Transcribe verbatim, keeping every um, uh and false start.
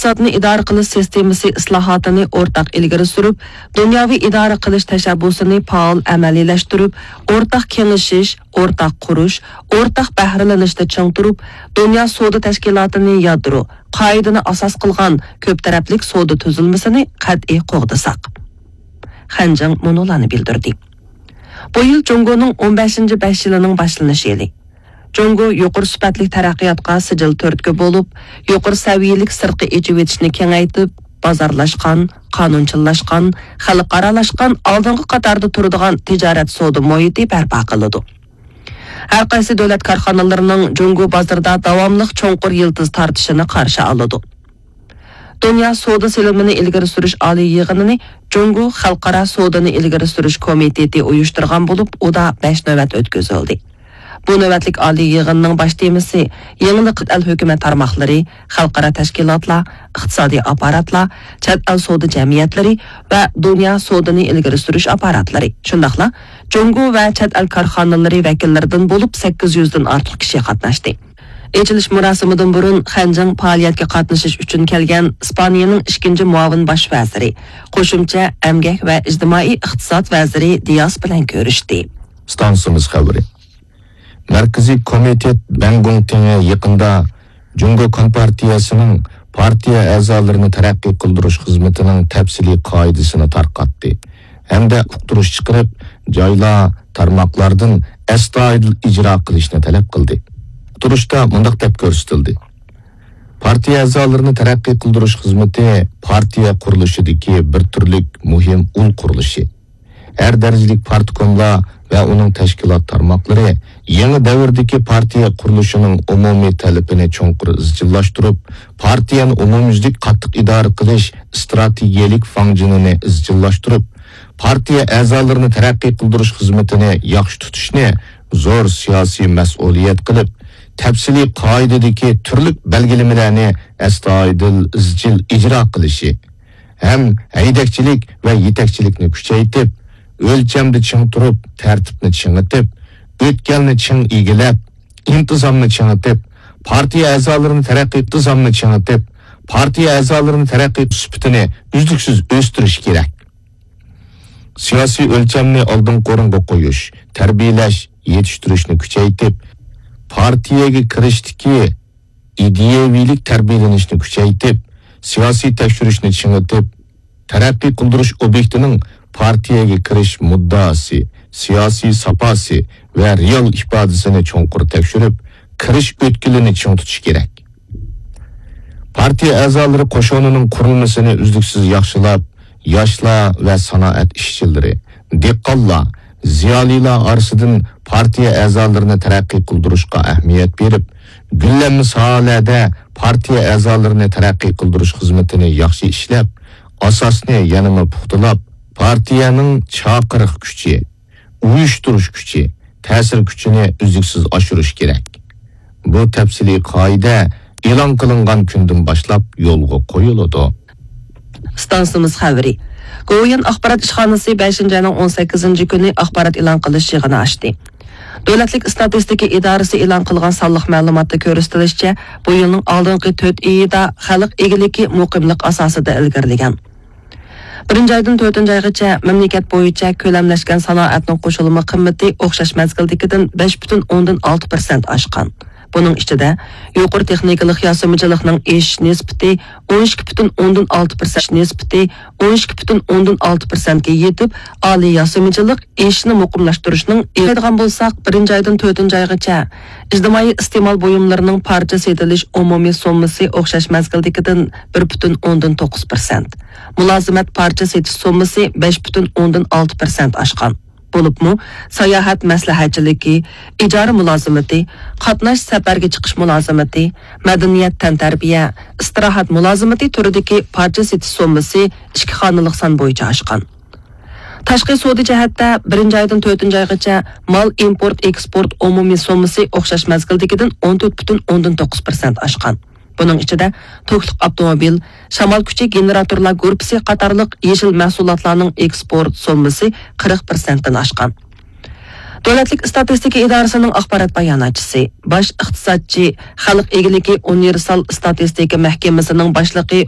ئىقتىسادنى ئىدارە قىلىش سىستېمىسى ئىسلاھاتىنى ئورتاق ئىلگىرى سۈرۈپ، دۇنياۋى ئىدارە قىلىش تەشەببۇسىنى پائال ئەمەلىيلەشتۈرۈپ، ئورتاق كېڭىشىش، ئورتاق قۇرۇش، ئورتاق بەھرىلىنىشنى چىڭ تۇرۇپ، دۇنيا سودا تەشكىلاتىنى يادرو، قائىدىنى ئاساس قىلغان كۆپ تەرەپلىك سودا تۈزۈلمىسىنى قەتئىي قوغدىساق. خەنجىڭ مۇنۇلارنى بىلدۈردى. بۇ يىل جۇڭگونىڭ ئون بەشىنچى بەش يىلىنىڭ باشلىنىش يىلى. جۇڭگو يۇقىرى سۈپەتلىك تەرەققىياتقا سىجىل تۈرتكە بولۇپ، يۇقىرى سەۋىيەلىك سىرتقى ئېچىۋېتىشنى كېڭەيتىپ، بازارلاشقان، قانۇنچىللاشقان، خەلقئارالاشقان، ئالدىنقى قاتاردا تۇرىدىغان تىجارەت سودا مۇھىتى بەرپا قىلىدۇ. ھەر قايسى دۆلەت كارخانىلىرىنىڭ جۇڭگو بازىرىدا داۋاملىق چوڭقۇر يىلتىز تارتىشىنى قارشى ئالىدۇ. دۇنيا سودا سېلىنمىنى ئىلگىرى سۈرۈش ئالىي يىغىنىنى جۇڭگو خەلقئارا سودىنى ئىلگىرى سۈرۈش كومىتېتى ئۇيۇشتۇرغان بولۇپ، ئۇدا بەش نۆۋەت ئۆتكۈزۈلدى. بۇ نۆۋەتلىك ئالىي يىغىننىڭ باش تېمىسى يېڭىلىق، چەت ئەل ھۆكۈمەت تارماقلىرى، خەلقئارا تەشكىلاتلار، ئىقتىسادىي ئاپپاراتلار، چەت ئەل سودا جەمئىيەتلىرى ۋە دۇنيا سودىنى ئىلگىرى سۈرۈش ئاپپاراتلىرى، شۇنداقلا جۇڭگو ۋە چەت ئەل كارخانىلىرى ۋەكىللىرىدىن بولۇپ سەككىز يۈزدىن ئارتۇق كىشى قاتناشتى. ئېچىلىش مۇراسىمىدىن بۇرۇن خەنجىڭ پائالىيەتكە قاتنىشىش ئۈچۈن كەلگەن ئىسپانىيەنىڭ ئىككىنچى مۇئاۋىن باش ۋەزىرى، قوشۇمچە ئەمگەك ۋە ئىجتىمائىي ئىقتىساد ۋەزىرى دىياس بىلەن كۆرۈشتى. ئىستانسىمىز خەۋىرى. مەركىزىي كومىتېت بەنگۇڭتىڭى يېقىندا جۇڭگو كومپارتىيەسىنىڭ پارتىيە ئەزالىرىنى تەرەققىي قىلدۇرۇش خىزمىتىنىڭ تەپسىلىي قائىدىسىنى تارقاتتى ھەمدە ئۇقتۇرۇش چىقىرىپ، جايلار، تارماقلاردىن ئەستايىدىل ئىجرا قىلىشنى تەلەپ قىلدى. ئۇقتۇرۇشتا مۇنداق دەپ كۆرسىتىلدى: پارتىيە ئەزالىرىنى تەرەققىي قىلدۇرۇش خىزمىتى پارتىيە قۇرۇلۇشىدىكى بىر تۈرلۈك مۇھىم ئۇل قۇرۇلۇشى. ھەر دەرىجىلىك پارتكوملار ۋە ئۇنىڭ تەشكىلات تارماقلىرى يېڭى دەۋردىكى پارتىيە قۇرۇلۇشىنىڭ ئومۇمىي تەلىپىنى چوڭقۇر ئىزچىللاشتۇرۇپ، پارتىيەنى ئومۇميۈزلۈك قاتتىق ئىدارە قىلىش ئىستراتېگىيەلىك فاڭجېنىنى ئىزچىللاشتۇرۇپ، پارتىيە ئەزالىرىنى تەرەققىي قىلدۇرۇش خىزمىتىنى ياخشى تۇتۇشنى زور سىياسىي مەسئۇلىيەت قىلىپ، تەپسىلىي قائىدىدىكى تۈرلۈك بەلگىلىمىلەرنى ئەستايىدىل، ئىزچىل ئىجرا قىلىشى، ھەم ھەيدەكچىلىك ۋە يېتەكچىلىكنى كۈچەيتىپ، ئۆلچەمدە چىڭ تۇرۇپ، تەرتىپنى چىڭىتىپ، ئۆتكەلنى چىڭ ئىگىلەپ، ئىنتىزامنى چىڭىتىپ، پارتىيە ئەزالىرىنى تەرەققىي ئىنتىزامنى چىڭىتىپ، پارتىيە ئەزالىرىنى تەرەققىي سۈپىتىنى ئۈزلۈكسىز ئۆستۈرۈش كېرەك. سىياسىي ئۆلچەمنى ئالدىنقى ئورۇنغا قويۇش، تەربىيەلەش، يېتىشتۈرۈشنى كۈچەيتىپ، پارتىيەگە كىرىشتىكى ئىدىيەۋىلىك تەربىيەلىنىشنى كۈچەيتىپ، سىياسىي تەكشۈرۈشنى چىڭىتىپ، تەرەققىي قىلدۇرۇش ئوبيېكتىنىڭ پارتىيەگە كىرىش مۇددىئاسى، سىياسىي ساپاسى ۋە رېئال ئىپادىسىنى چوڭقۇر تەكشۈرۈپ، كىرىش ئۆتكىلىنى چىڭ تۇتۇش كېرەك. پارتىيە ئەزالىرى قوشۇنىنىڭ قۇرۇلمىسىنى ئۈزلۈكسىز ياخشىلاپ، ياشلار ۋە سانائەت ئىشچىلىرى، دېھقانلار، زىيالىيلار ئارىسىدىن پارتىيە ئەزالىرىنى تەرەققىي قىلدۇرۇشقا ئەھمىيەت بېرىپ، گۈللەنمە ساھەلەردە پارتىيە ئەزالىرىنى تەرەققىي قىلدۇرۇش خىزمىتىنى ياخشى ئىشلەپ، ئاساسنى يەنىمۇ پۇختىلاپ، پارتىيەنىڭ چاقىرىق كۈچى، ئۇيۇشتۇرۇش كۈچى، تەسىر كۈچىنى ئۈزلۈكسىز ئاشۇرۇش كېرەك. بۇ تەپسىلىي قائىدە ئېلان قىلىنغان كۈندىن باشلاپ يولغا قويۇلىدۇ. ئىستانسىمىز خەۋىرى. گوۋۇيۈەن ئاخبارات ئىشخانىسى بەشىنچى ئاينىڭ ئون سەككىزىنچى كۈنى ئاخبارات ئېلان قىلىش يىغىنى ئاچتى. دۆلەتلىك ئىستاتىستىكا ئىدارىسى ئېلان قىلغان سانلىق مەلۇماتتا كۆرسىتىلىشىچە، بۇ يىلنىڭ ئالدىنقى تۆت ئېيىدا خەلق ئىگىلىكى مۇقىملىق ئاساسىدا ئىلگىرىلىگەن. بىرىنچى ئايدىن تۆتىنچى ئايغىچە مەملىكەت بويىچە كۆلەملەشكەن سانائەتنىڭ قوشۇلما قىممىتى ئوخشاش مەزگىلدىكىدىن بەش پۈتۈن ئوندىن ئالتە پىرسەنت ئاشقان. بۇنىڭ ئىچىدە، يۇقىرى تېخنىكىلىق ياسىمىچىلىقنىڭ ئېشىش نىسبىتى ئون ئىككى پۈتۈن ئوندىن ئالتە پىرسەنت، نىسبىتى ئون ئىككى پۈتۈن ئوندىن ئالتە پىرسەنتكە يېتىپ، ئالىي ياسىمىچىلىق ئېشىشنى مۇقىملاشتۇرۇشنىڭ ئېغىدىغان بولساق، بىرىنچى ئايدىن تۆتىنچى ئايغىچە ئىجتىمائىي ئىستېمال بۇيۇملىرىنىڭ پارچە سېتىلىش ئومۇمىي سوممىسى ئوخشاش مەزگىلدىكىدىن بىر پۈتۈن ئوندىن توققۇز پىرسەنت، مۇلازىمەت پارچە سېتىش سوممىسى بەش پۈتۈن ئوندىن ئالتە پىرسەنت ئاشقان. بولۇپمۇ ساياھەت مەسلىھەتچىلىكى، ئىجارە مۇلازىمىتى، قاتناش سەپەرگە چىقىش مۇلازىمىتى، مەدەنىيەت تەنتەربىيە، ئىستىراھەت مۇلازىمىتى تۈرىدىكى پارچە سېتىش سوممىسى ئىككى خانىلىق سان بويىچە ئاشقان. تاشقى سودا جەھەتتە، بىرىنچى ئايدىن تۆتىنچى ئايغىچە مال ئىمپورت ئېكسپورت ئومۇمىي سوممىسى ئوخشاش مەزگىلدىكىدىن ئون تۆت پۈتۈن ئوندىن توققۇز پىرسەنت ئاشقان. بۇنىڭ ئىچىدە توكلۇق ئاپتوموبىل، شامال كۈچى گېنېراتورلار گۇرۇپپىسى قاتارلىق يېشىل مەھسۇلاتلارنىڭ ئېكسپورت سوممىسى قىرىق پىرسەنتتىن ئاشقان. دۆلەتلىك ئىستاتىستىكا ئىدارىسىنىڭ ئاخبارات باياناتچىسى، باش ئىقتىسادچى، خەلق ئىگىلىكى ئۇنىۋېرسال ئىستاتىستىكا مەھكىمىسىنىڭ باشلىقى